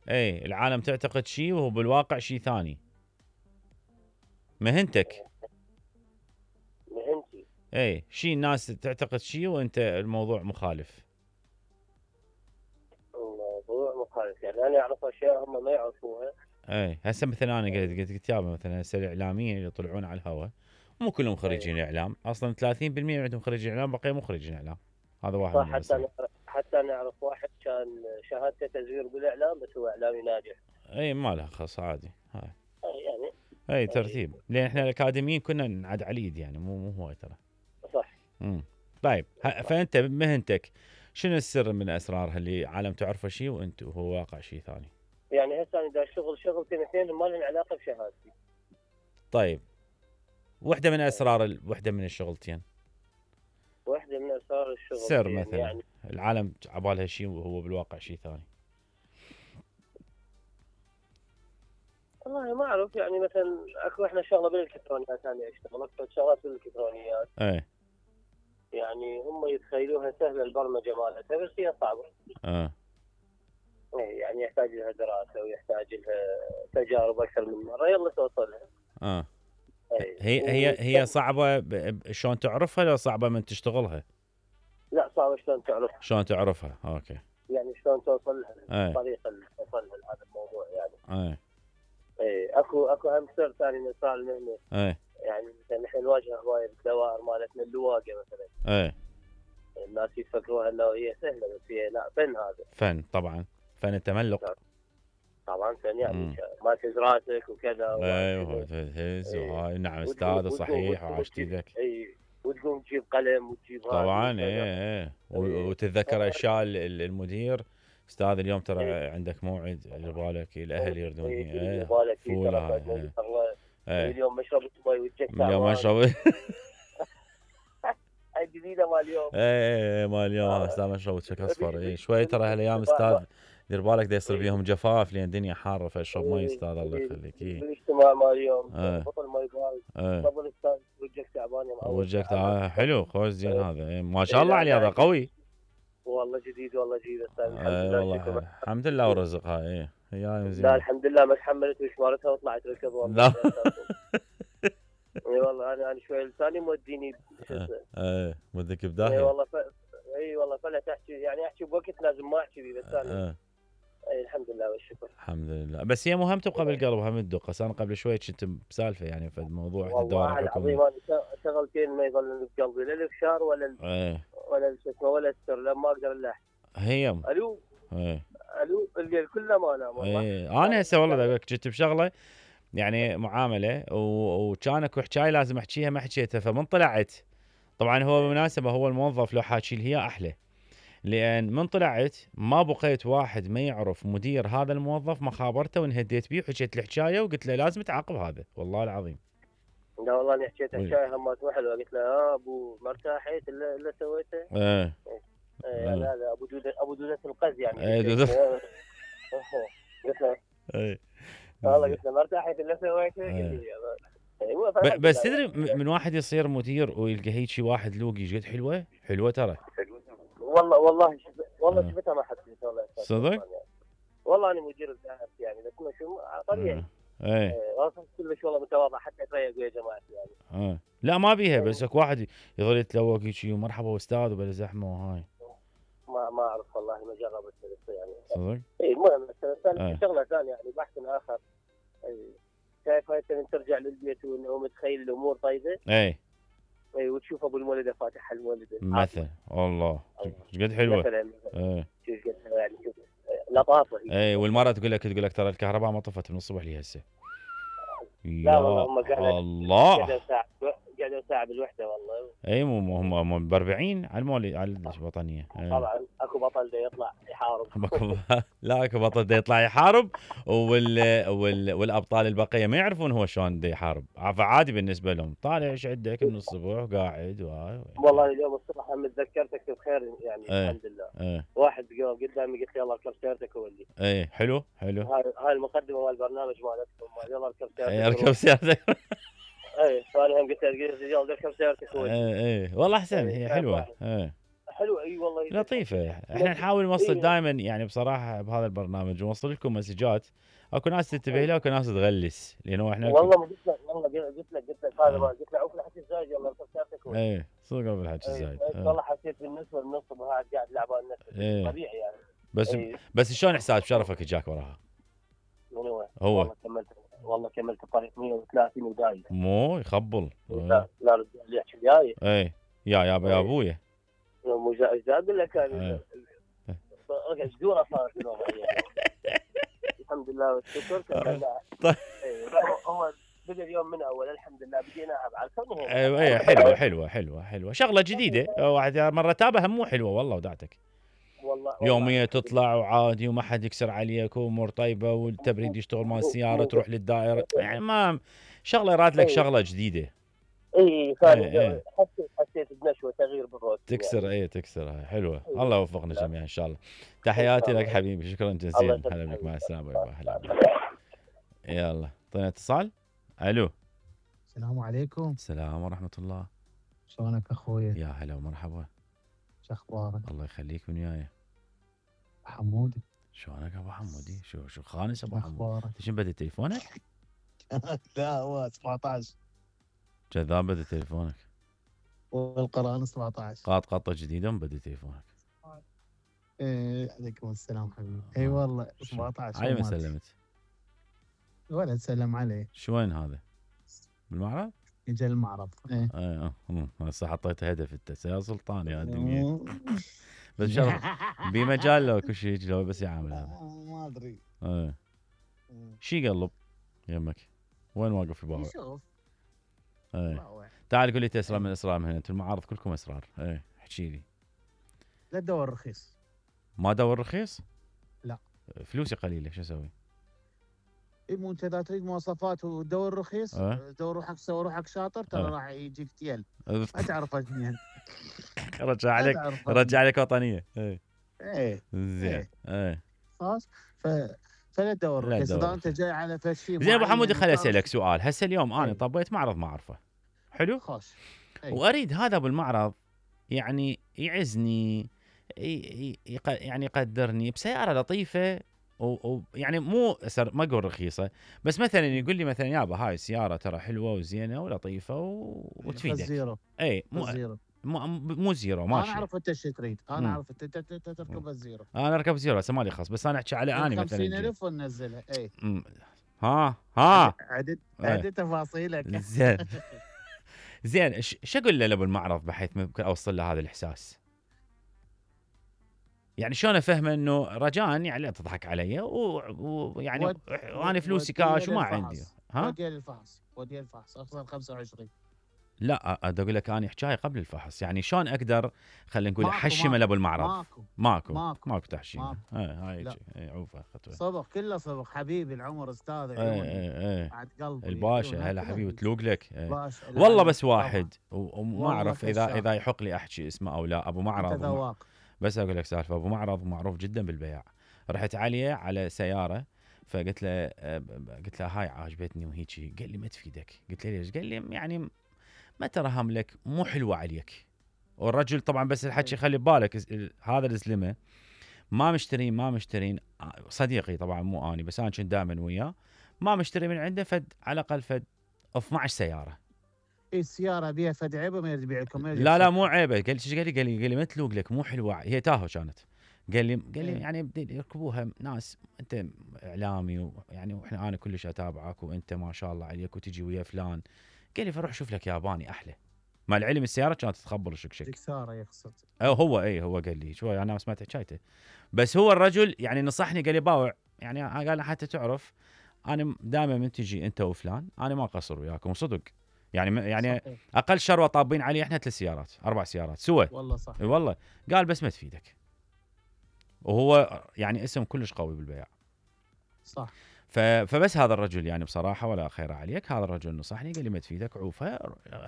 اي العالم تعتقد شيء وهو بالواقع شيء ثاني. مهنتك. مهنتي. اي شيء الناس تعتقد شيء وانت الموضوع مخالف. الموضوع مخالف، يعني انا اعرف اشياء هم ما يعرفوها. اي هسه مثلا انا قلت يابا مثلا هسه الاعلاميين اللي يطلعون على الهواء مو كلهم خريجين اعلام، اصلا 30% عندهم خريجين اعلام، بقيه مو خريجين اعلام. هذا واحد صح. من الاسباب. حتى انا اعرف واحد كان شهادته تزوير بالاعلام بس هو اعلامي ناجح. اي ما لها خص عادي هاي. يعني اي ترتيب، لان احنا الاكاديميين كنا نعد على اليد يعني مو هواي ترى. صح. طيب فانت بمهنتك شنو السر من اسرارها اللي عالم تعرفه شيء وانت وهو واقع شيء ثاني؟ يعني هسه انا دا شغلتين اثنين ما لهم علاقه بشهادتي. طيب وحده من اسرار وحده من الشغلتين. واحده من اسرار الشغل سر مثلا يعني العالم عبالها شيء وهو بالواقع شيء ثاني. والله ما اعرف، يعني مثلا اكو احنا شغله بالالكترونيات، انا اشتغل اكثر شغلات بالالكترونيات. ايه يعني هم يتخيلوها سهله البرمجه مالتها بس هي صعبه. يعني يحتاج لها دراسه ويحتاج لها تجارب اكثر من مره يلا توصل لها. هي صعبه شلون تعرفها لو صعبه من تشتغلها؟ لا صعبه شلون تعرفها. شلون تعرفها؟ اوكي. يعني شلون توصل لها الطريقه اللي توصل لها هذا الموضوع يعني. اكو هم سر ثاني من اسرار المهنه. يعني مثلا نحن نواجه هوايه بالدوائر مالتنا اللواقه مثلا. الناس يفكروها انه هي سهله بس هي لا، فن هذا. فن طبعا، فن التملق. طبعا فن يعني ما تهز راسك وكذا. ايوه تهز وهاي. نعم استاذ صحيح وعاشت ايدك. وتقوم تجيب قلم وتجيب طبعا وتتذكر اشياء المدير. استاذ اليوم ترى عندك موعد بالك الاهل يردون فوله اليوم مشرب مي وجهك تعبان. اليوم مشرب هاي جديده مال اليوم. مال اليوم استاذ مشرب وجهك اصفر. شوي ترى هالايام استاذ دير بالك دا يصير بيهم جفاف لان الدنيا حاره فاشرب مي استاذ الله يخليك. الاجتماع مال اليوم بطل مي بارد. قبل استاذ وجهك تعبان يا معود. وجهك تعبان حلو خوش زين هذا ما شاء الله عليه هذا قوي. والله جديد والله جديد استاذ. والله الحمد لله ورزق هاي هي زين. لا الحمد لله ما تحملت وشمارتها وطلعت ركض والله. اي والله انا شوي لساني موديني. مودك بداهيه. اي والله فلا تحكي يعني احكي بوقت لازم ما احكي بيه بس انا الحمد لله والشكر. الحمد لله. بس هي مو هم تبقى بالقلب هم تدق. انا قبل شوي كنت بسالفه يعني في الموضوع والله العظيم انا شغلتين ما يظلون بقلبي لا الافشار ولا ولا شو اسمه ولا السر لما اقدر الا هي الو الو الليل كله ما انام والله. انا هسه والله اقول لك كنت بشغله يعني معامله وكان اكو حكايه لازم احكيها ما حكيتها فمن طلعت. طبعا هو بالمناسبه هو الموظف لو حاكي لي هي احلى، لان من طلعت ما بقيت واحد ما يعرف مدير هذا الموظف ما خابرته وانهديت بيه وحكيت الحكايه وقلت له لازم تعاقب هذا والله العظيم. لا والله انا حكيت حكايه همات حلوه قلت له ابو ما ارتاحيت الا سويته. هذا ابو دوده القز يعني. قلت له والله قلت له ما ارتاحيت الا سويته. بس تدري من واحد يصير مدير ويلقى هيك واحد لوقي ايش قد حلوه ترى. والله شفتها ما حسيت والله صدق. والله انا مدير الذهب يعني بس ما شو طبيعي. اصلا كلش والله متواضع حتى اتريق ويا جماعتي يعني. لا ما بيها بس اكو واحد يظل يتلوق هيك مرحبا استاذ وبلا زحمه وهاي. ما اعرف والله ما جربت يعني. صدق. المهم شغله ثانيه يعني بحث اخر. شايف هاي انت ترجع للبيت ومتخيل الامور طيبه. وتشوف ابو المولده فاتح المولده مثلا والله ايش قد حلوه مثلا. يعني شوف لطافه. والمره تقول لك ترى الكهرباء ما طفت من الصبح لي هسه. لا والله هم قعدوا ساعه بالوحده والله. هم ب 40 على المولد على الوطنيه. طبعا اكو بطل دا يطلع يحارب. لا اكو بطل دا يطلع يحارب والابطال البقيه ما يعرفون هو شلون دا يحارب فعادي بالنسبه لهم طالع ايش عندك من الصبح قاعد والله اليوم الصبح هم تذكرتك بخير يعني الحمد لله. واحد قدامي قلت لي يلا اركب سيارتك ولي. حلو هاي المقدمه مال البرنامج مالتكم يلا اركب سيارتك. اركب سيارتك. فانا هم قلت له رجال اركب سيارتك ولي. والله احسن هي حلوه. حلوه اي والله لطيفه. احنا نحاول نوصل دائما يعني بصراحه بهذا البرنامج نوصل لكم مسجات، اكو ناس تنتبه لها واكو ناس تغلس، لانه احنا والله ما قلت لك والله قلت لك هذا ما قلت لك عوف الحكي الزايد يلا فكرتك. ايه صدق عوف الحكي الزايد. والله حسيت بالنسبه للنصب وهذا قاعد لعبان نفسه طبيعي يعني. بس شلون احساس بشرفك اجاك وراها؟ من هو؟ والله كملت الطريق 130 ودايم. مو يخبل. لا رجال يحكي وياي. ايه يا ابويا. مو ايش اقول لك انا جدوره صارت اليوم. الحمد لله والشكر. طيب هو بدا اليوم من اول الحمد لله بديناها بعد كونه. ايوه حلوه شغله جديده. واحد مره تابها مو حلوه والله ودعتك. والله يوميه تطلع وعادي وما حد يكسر عليك وامور طيبه والتبريد يشتغل مال السياره تروح للدائره يعني ما شغله راد لك شغله جديده. اي حسيت بنشوه تغيير بالروت تكسر تكسر حلوه. الله يوفقنا جميعا ان شاء الله. تحياتي لك حبيبي شكرا جزيلا. هلا بك مع السلامه. هلا يلا طيب اتصال. الو السلام عليكم. السلام ورحمه الله. شلونك اخويا؟ يا هلا ومرحبا. شو اخبارك؟ الله يخليك من وياي. حمودي شلونك ابو حمودي؟ شو خانس ابو حمودي؟ انت شنو بدي تليفونك؟ لا هو 17 كذاب بدي تليفونك. والقران 17 قطه جديده بدي تليفونك. عليكم السلام حبيبي. اي والله 17. علي ما سلمت ولا تسلم عليه. شو وين هذا؟ بالمعرض؟ اجى المعرض. هسه حطيت هدف انت يا سلطان يا الدنيا. بس شرف بمجال لو كل شيء لو بس يعامل هذا. ما ادري. شي يقلب يمك؟ وين واقف في بابا؟ شوف. تعال قول لي اسرار من اسرار من هنا. انتم المعارض كلكم اسرار. احكي لي. لا تدور رخيص. ما دور رخيص؟ لا. فلوسي قليله شو اسوي؟ مو انت اذا تريد مواصفات ودور رخيص دور روحك سوي روحك شاطر ترى راح يجيك تيل ما تعرف اثنين. رجع عليك وطنيه. زين. خلاص فلا تدور رخيص. اذا انت جاي على فشي زين ابو حمودي خليني اسالك سؤال. هسه اليوم انا طبيت معرض ما اعرفه حلو؟ خوش. واريد هذا بالمعرض يعني يعزني يعني يقدرني بسياره لطيفه ويعني مو ما اقول رخيصه بس مثلا يقول لي مثلا يابا هاي السياره ترى حلوه وزينه ولطيفه وتفيدك. زيرو. مو زيرو ماشي. انا اعرف انت ايش تريد. انا اعرف انت تركب الزيرو. انا اركب زيرو هسه مالي خاص بس انا احكي على اني مثلا 50,000 وننزلها. ها عدد تفاصيلك. زين شو اقول له ابو المعرض بحيث ممكن اوصل له هذا الاحساس؟ يعني شلون افهمه انه رجاء يعني لا تضحك علي ويعني وانا فلوسي كاش وما عندي. ودي الفحص اخسر 25. لا اقول لك انا حكايه قبل الفحص يعني شلون اقدر خلينا نقول احشم ابو المعرض. ماكو تحشيم. هاي عوفه خطوه. صدق كله صدق حبيبي العمر استاذ عيوني. بعد قلبي الباشا هلا حبيبي تلوق لك. والله بس واحد وما اعرف اذا يحق لي احكي اسمه او لا. ابو معرض بس اقول لك سالفه. ابو معرض معروف جدا بالبيع. رحت عليه على سياره فقلت له هاي عجبتني وهيجي. قال لي ما تفيدك. قلت له ليش؟ قال لي يعني ما ترهم لك مو حلوه عليك. والرجل طبعا بس الحكي خلي ببالك هذا الزلمه ما مشترين صديقي طبعا مو اني بس انا كنت دائما وياه ما مشتري من عنده على الاقل 12 سياره. السياره بيها فد عيبه ما يريد يبيع لكم. لا مو عيبه. قال لي ما تلوق لك مو حلوه. هي تاهو كانت. قال لي يعني بدي يركبوها ناس انت اعلامي يعني واحنا انا كلش اتابعك وانت ما شاء الله عليك وتجي ويا فلان. قال لي فروح شوف لك ياباني احلى. مع العلم السياره كانت تخبر شك ساره يقصد. هو قال لي شوي انا ما سمعت حكايته بس هو الرجل يعني نصحني قال لي باوع يعني قال حتى تعرف انا دائما من تجي انت وفلان انا ما اقصر وياكم صدق يعني صحيح. اقل شروه طابين علي احنا 3 سيارات 4 سيارات سوا. والله صح. والله قال بس ما تفيدك. وهو يعني اسم كلش قوي بالبيع. صح. فبس هذا الرجل يعني بصراحه ولا خير عليك. هذا الرجل نصحني قال لي ما تفيدك عوفه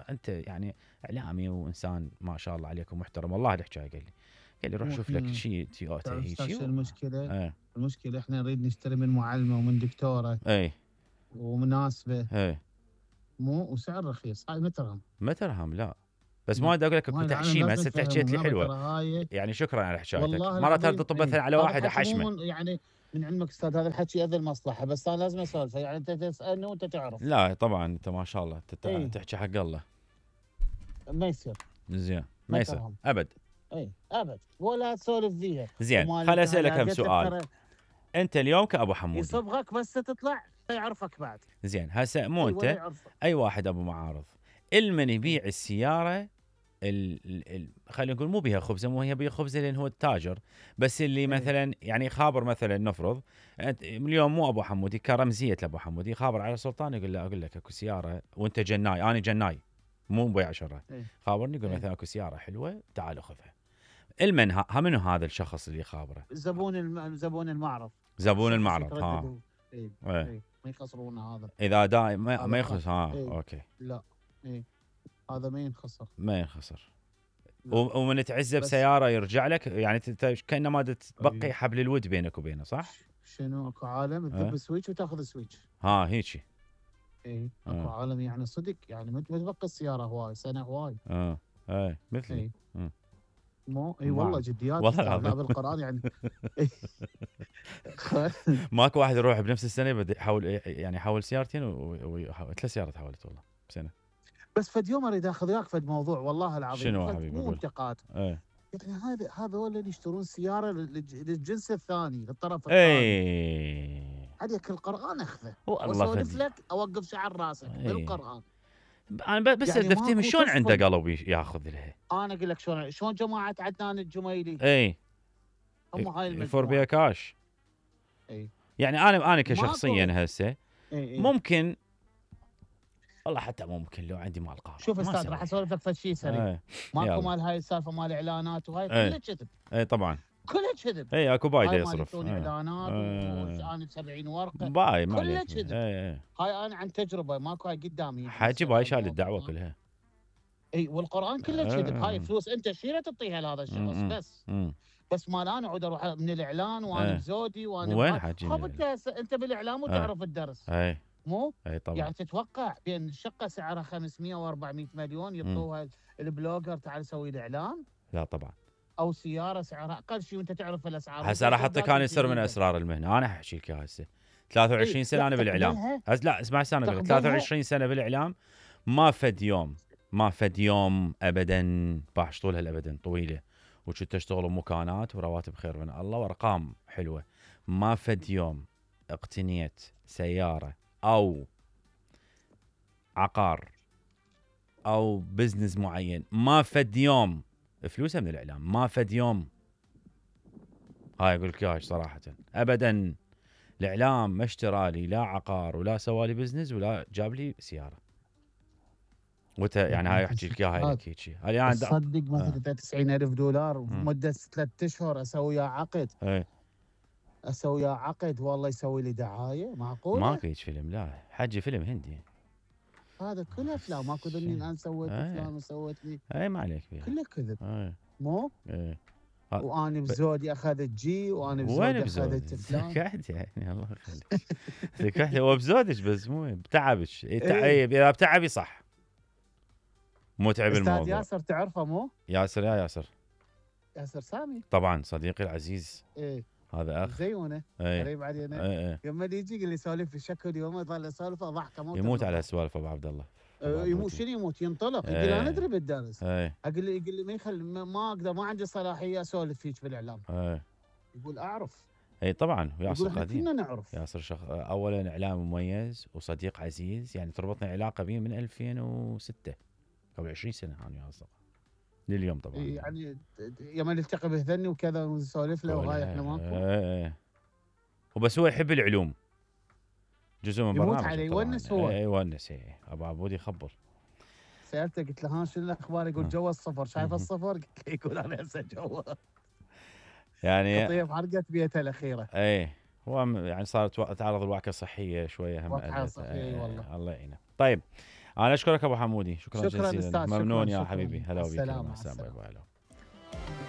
انت يعني اعلامي وانسان ما شاء الله عليك ومحترم. والله الحكايه قال لي روح شوف لك شيء تويوتا هيك. المشكله المشكله احنا نريد نشتري من معلمه ومن دكتوره ومناسبه مو وسعر رخيص. هاي ما ترهم لا بس ما ادري اقول لك اكو تحشيمه هسه تحكيت لي حلوه يعني شكرا على حكايتك مرات تطب مثلا على واحد احشمه يعني من علمك استاذ هذا الحكي اذى المصلحه بس انا لازم اسولف يعني انت تسالني وانت تعرف لا طبعا انت ما شاء الله تحكي حق الله ما يصير زين ما يصير ابد اي ابد ولا تسولف فيها زين خل اسالك هم سؤال انت اليوم كابو حمودي يصبغك بس تطلع يعرفك بعد زين هسه مو انت اي واحد ابو معارض المن يبيع السياره خلينا نقول مو بيها خبزه مو هي بيها خبزه لان هو التاجر بس اللي مثلا يعني خابر مثلا نفرض انت اليوم مو ابو حمودي كرمزيه لابو حمودي خابر على سلطان يقول له اقول لك اكو سياره وانت جناي انا جناي مو بيع شره خابرني يقول مثلا اكو سياره حلوه تعال خذها المن منو هذا الشخص اللي خابره زبون المعرض زبون المعرض ها ما يخسرون هذا اذا دائم ما يخسر اوكي لا هذا ما ينخسر ومن تعزه بسياره يرجع لك يعني كانه ما تبقي حبل الود بينك وبينه صح؟ شنو اكو عالم تذب سويتش وتاخذ سويتش هيجي اكو عالم يعني صدق يعني ما تبقى السياره هواي سنه هواي مثلي مو والله جديات والله بالقران يعني ماكو واحد يروح بنفس السنه بده يحول سيارتين ثلاث سيارات حولت والله بسنه بس فد يوم اريد اخذ وياك فد موضوع والله العظيم شنو حبيبي مو انتقاد يعني هذا هو اللي يشترون سياره للجنس الثاني للطرف الثاني عليك القران اخذه واسولف لك اوقف شعر راسك بالقران انا بس يعني افتهم شلون عنده قلب ياخذ لها انا اقول لك شلون جماعه عدنان الجميلي هم هاي المجموعه يفور بيها كاش يعني انا كشخصيا هسه ممكن والله حتى ممكن لو عندي مال قارب شوف استاذ راح اسولف لك فد شيء سريع ماكو مال هاي السالفه مال اعلانات وهاي كلها كذب طبعا كلها كذب اكو بايده يصرف اعلانات وانا 70 ورقه باي كلها كذب هاي انا عن تجربه ماكو هاي قدامي حاجي باي شال الدعوه كلها والقران كله كذب هاي فلوس انت شيله تعطيها لهذا الشخص بس مال انا اعود اروح من الاعلان وانا بزودي وانا وين حاجي انت بالاعلام وتعرف الدرس مو طبعا يعني تتوقع بين الشقه سعرها 500 و400 مليون يعطوها البلوجر تعال سوي لي اعلان لا طبعا او سياره سعرها اقل شيء وانت تعرف الاسعار هسه راح اعطيك انا سر من اسرار المهنه انا احكي لك هسه 23 سنه انا بالاعلام لا اسمع انا 23 سنه بالاعلام ما فد يوم ابدا باش طولها الابدا طويله وكنت اشتغل بمكانات ورواتب خير من الله وارقام حلوه ما فد يوم اقتنيت سياره او عقار او بزنس معين ما فد يوم فلوسها من الاعلام ما فد يوم هاي اقول لك صراحه ابدا الاعلام ما اشترى لي لا عقار ولا سوى لي بزنس ولا جاب لي سياره يعني هاي احكي لك اياها هيك يعني تصدق مثلا 90,000 دولار بمده 3 اشهر اسوي وياه عقد اسوي وياه عقد والله يسوي لي دعايه معقوله ماكو هيك فيلم لا حجي فيلم هندي هذا كله افلام ماكو ذني انا سويت فلان وسويت لي ما عليك فيها كله كذب مو وانا بزودي اخذت جي وانا بزودي اخذت فلان كحت يعني الله يخليك كحت هو بزودك بس مو بتعبك اذا بتعبي صح مو تعب الموضوع استاذ ياسر تعرفه مو ياسر ياسر سامي طبعا صديقي العزيز هذا اخ زيونه قريب علينا يوم ما يجي يقول لي سولف في الشكل يوم يظل يسولف ضحكه يموت على سوالف ابو عبد الله يموت شنو يموت ينطلق يقول انا ادري بالدرس اقول لي ما يخلي ما اقدر ما عندي صلاحيه اسولف فيك بالاعلام يقول اعرف طبعا ياسر قديم كنا نعرف ياسر اولا اعلام مميز وصديق عزيز يعني تربطنا علاقه به من 2006 قبل 20 سنه انا وياه اصدقاء لليوم طبعا يعني يوم نلتقي بهذني وكذا ونسولف له وهاي احنا ماكو وبس هو يحب العلوم جزء من برنامج يموت عليه يونس هو يونس ابو عبود يخبر سالته قلت له ها شنو الاخبار يقول جو الصفر شايف الصفر قلت له يقول انا هسه جو يعني طيب حرقت بيته الاخيره هو يعني صارت تعرض الوعكه الصحيه شويه هم وعكه صحيه والله الله يعينه طيب انا اشكرك ابو حمودي شكرا جزيلا أستاذ ممنون شكرا يا حبيبي هلا وبك السلام